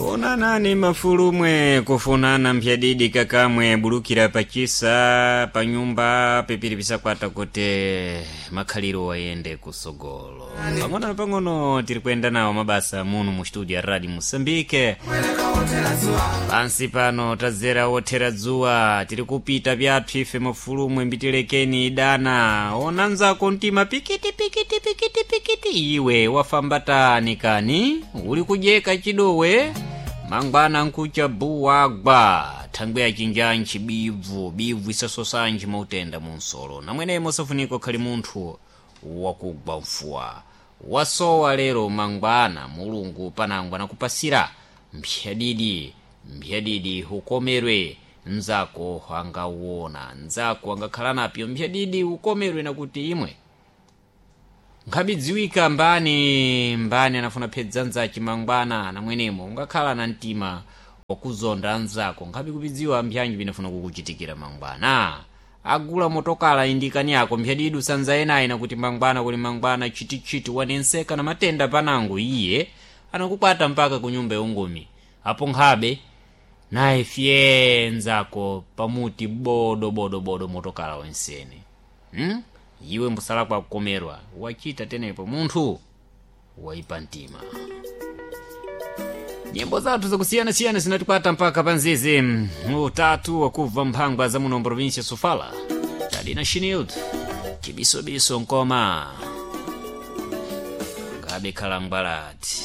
Onanani mafulumwe kufunana mpyadidi kakamwe bulukira pachisa panyumba pipiri pisakwata kuti makhaliro ayende kusogolo. Pang'ono na pang'ono tiri kuyenda nawo mabasa muno mu studio ya Radio Mosambike. Pansi pano tadzera wothera dzuwa, tiri kupita pyathu ife mafulumwe mbitilekeni idana. Ona nzako mtima pikiti pikiti pikiti pikiti, iwe wafamba tani kani uli kudyeka chidowe mangwana nkucha buwagwa thangwi achinjanji bibvu bibvu isasosanji mautenda munsolo namwenemo safunika khali munthu wakugwa mfuwa wasowa lero mangwana mulungu panangwa nakupasira mphyadidi mphyadidi ukomerwe nzako angauona nzako angakhala napyo mphyadidi ukomerwe nakuti imwe nkhabidziwika mbani mbani anafuna phedza nzachi mangwana namwenemo ungakhala na mtima wakuzonda anzako nkhabi kupidziwa mpyanji pinafuna kukuchitikira mangwana agula motokala indikani yako mphyadidi usanzaye nakuti mangwana kuli mangwana chitichiti wanenseka na matenda panango iye anakukwata mpaka ku nyumba yongumi apo nkhabe naye fye nzako pamuti bodo bodo bodo motokala wensene Iwe mbusala kwa kukomerwa wachita tenepo munthu waipa mtima. Nyimbo zathu zakusiyanasiyana zinatikwata mpaka panzizi utatu wakubva mphangwa za muno provincia Sofala tadina shinild chibisobiso nkoma ngabe khalangwalati.